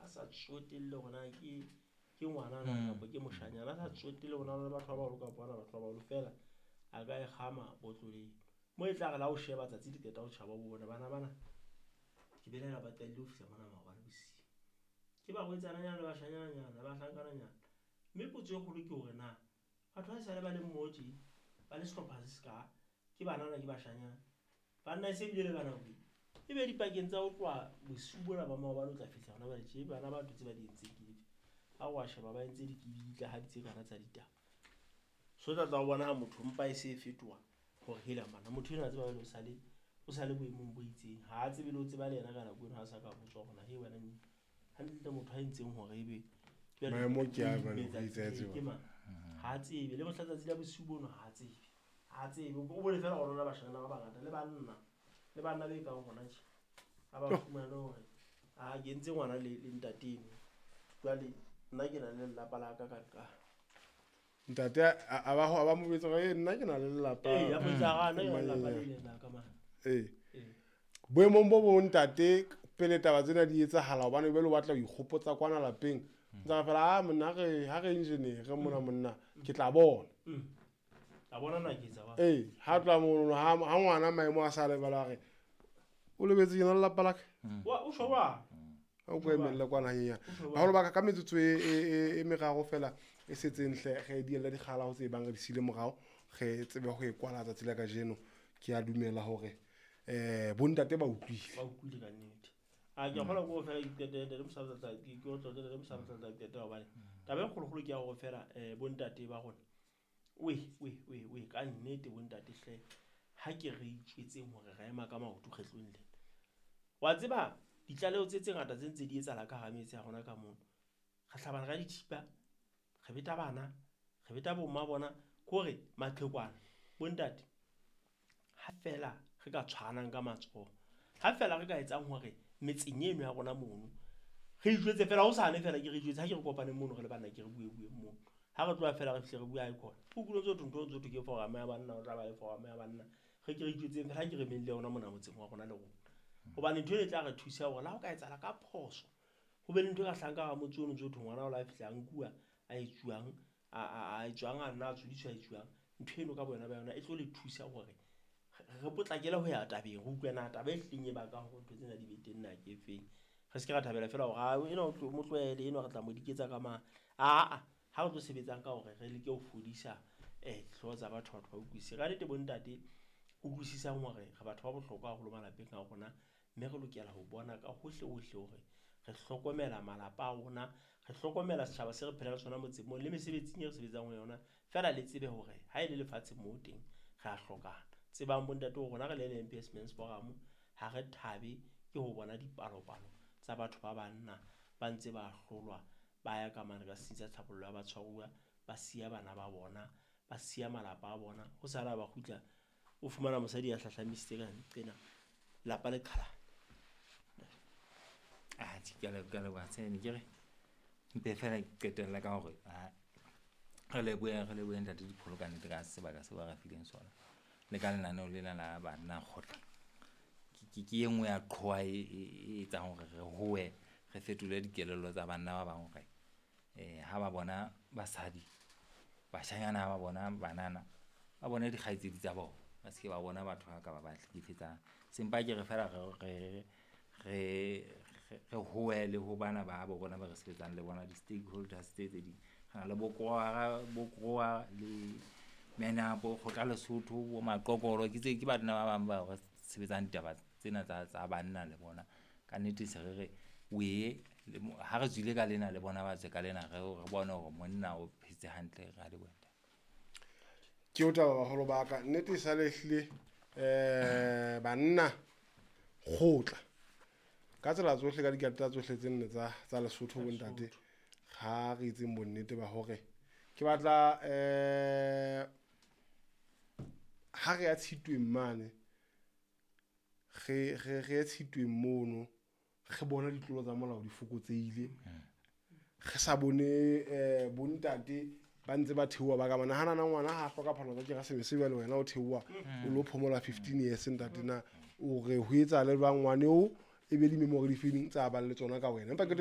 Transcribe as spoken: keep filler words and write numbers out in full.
sa tsotelle hore na ke ke ngwana na kapa ke moshanyana, a sa tsotelle hore na le batho ba baholo kapa hana batho ba baholo, fela a ka e kgama botloleng. Mo e tla re la o sheba tsatsi le qeta ho tjhaba bo bona bana bana, ke belaela ba qadile ho fihla mona maobane bosiu. Ke barwetsananyana le bashanyananyana le bahlankananyana. Mme potso e kgolo ke hore na batho ha esale ba le mmoho tje, ba le sehlopha se seka, ke banana ke bashanyana. Banna e se bile le ka nako e, e be dipakeng tsa ho tloha bosiu bona ba maobane o tla fihla hona jwale tje, bana ba ntho tse ba di entseng ke dife? Ha o wa sheba ba entse dikibitlahadi tse kana tsa ditaba. So tla tla o bona ha motho mpa e se e fetoha hore hela mana motho enwa a tseba jwale o sale, o sale boemong bo itseng. Ha a tsebe le ho tseba le yena ka nako eno ha a sa ka botswa hore na he wena neng hantle motho a entseng hore ebe jwale Maemo ke a o jwale, imetsa o itse tse tseba. ke mang? Ha a tsebe le mohla tsatsi la bosiu bono ha a tsebe. Ha a tsebe. O bone feela hore rona bashanyana ba bangata le banna, le banna be kang rona tje. Ha ba fumane hore a ke entse ngwana le, le ntate eno. Jwale nna ke na le lelapa la ka ka nqa. Ntate a, a ba ho, a ba mo jwetsa hore, nna ke na le lelapa. Ee, a mo jwetsa hore, nna ke na le lelapa Ee. le leng la ka mane. Ee. Ee. Boemong bo bong ntate, pele taba tsena di etsahala, hobane jwale o batla ho ikgopotsa kwana lapeng. Ntse re fela, ah, monna, ha re, ha re engineer, re mona monna, ke tla bona. Mm. A bona na ke etsa ba. Ee, ha tloha mono, ha, ha ngwana maemo a sa lebala, a re, o lebetse ke na le lelapa la ka. Wa, o tjho jwang? Ha o ko emelle kwana hanyenyane. O tjho jwang? Baholo ba ka, ka metsotso e, e, e, e meraro fela e setseng hle, re dielle dikgala ho tse bang re di siile morao, re tsebe ho e kwala tsatsi la kajeno. Ke a dumela hore, eh, bontate ba utlwile. Ba utlwile ka nnete. A ke a kgolwa ke hore fela ke qetelle, le mosadi tla, ke, ke otlolle, le mosadi tla tla qetela hobane taba e kgolokgolo ke ya hore fela, eh, bontate ba rona, we, we, we, we, ka nnete bontate hle, ha ke re itjwetseng hore re ema ka maoto kgetlong lena. Wa tseba ditlaleho tse tse ngata tse ntse di etsahala ka hara metse ya rona ka mono. Re hlabana ka dithipa, re beta bana, re beta bomma bona, ke hore maqhekwana, bontate, ha fela re ka tshwaranang ka matsoho, ha fela re ka etsang hore metseng eno ya rona mono, re ijwetse fela, hosane fela ke re ijwetse, ha ke re kopaneng mono re le banna, ke re bue bue mono. Ha re tloha fela re fihle re bue ha e khona. O utlwile ntse ho thwe ntho ntse ho thwe ke forum ya banna, o tla ba le forum ya banna. Re ke re ijwetseng fela, ha ke re meng le yona mona motseng wa rona le rona. Hobane ntho eno e tla re thusa hore le ha o ka etsahala ka phoso, ho be le ntho e ka hlahang ka hara motse ono ntse ho thwe ngwana o la fihla a nkuwa, a etsuwang, a, a, a etsuwang, a nna a tshodiswa, a etsuwang. Ntho eno ka boyona ba yona e tlo le thusa hore re potlakele ho ya tabeng, re utlwe na taba e hlileng e bakang hore ntho tsena di be teng na ke efeng. Re se ke ra thabela fela hore, ah, enwa o tlo, mo tlohele, enwa re tla mo diketsa ka mang. Aa, ha re tlo sebetsang ka hore re leke ho fodisa, eh, dihlooho tsa batho, batho ba utlwisise. Ka nnete bontate, utlwisisang hore re batho ba bohlokwa haholo malapeng a rona, mme re lokela ho bona ka hohle hohle hore re hlokomela malapa a rona, re hlokomela setjhaba se re phelang le sona motseng moo, le mesebetsing e re sebetsang ho yona. Feela le tsebe hore ha e le lefatsheng moo teng, re a hlokana. Tsebang bontate hore rona re le L M P S Men's Forum, ha re thabe ke ho bona dipalopalo tsa batho ba banna ba ntse ba hlolwa, ba ya ka mane ka setsing sa tlhabollo ya batshwaruwa, ba siya bana ba bona, ba siya malapa a bona. Ho sala ba kgutla, o fumana mosadi ya hlahlamisitse ka nqena, lapa le qhalane. Ah, ke a leboha, ke a leboha, Tshene. Ke re, mpe fela ke qetella ka hore, ah, re lebohe, re lebohe ntate Dipholo ka nnete ka sebaka seo ba re fileng sona. Le ka lenaneo lena la banna kgotla. Ke, ke, ke e nngwe ya qhowa e, e, e etsang hore re howe, re fetole dikelello tsa banna ba bang hore, eh, ha ba bona basadi, bashanyana ha ba bona banana, ba bone dikgaitsedi tsa bona, ba se ke ba bona batho ba ka ba ba hlekefetsang. Sempa ke re fela re, re, re, re howe le ho bana ba bo rona ba re sebetsang le bona, di-stakeholders tse tse ding. Re na le bo Krowa, bo Krowa le Menapo, Kgotla Lesotho, bo Maqokolo, ke tse, ke banna ba bang ba re sebetsang ditaba tsena tsa, tsa banna le bona. Ka nnete se re re, wee, le mo, ha re tswile ka lena le bona ba tswe ka lena, re, re bone hore monna o phetse hantle, re a leboha. Ke o taba baholo ba ka, nnete e sa le ehlile, eh, banna kgotla. Ka tsela tsohle, ka dikarata tsohle tse nne tsa, tsa Lesotho bontate, ha re etseng bonnete ba hore ke batla, eh, ha re ya Tshitweng mane, re, re, re ye Tshitweng mono, re bona ditlolo tsa molao di fokotsehile. Re sa bone, eh, bontate ba ntse ba theoha ba ka mane. Ha nana ngwana ha hloka phalo tsa Keresemese jwale wena o theoha, o lo phomola fifteen years ntate na, o re ho etsahale jwang ngwane oo, e be di-memory di feng tsa bang le tsona ka wena. Empa ke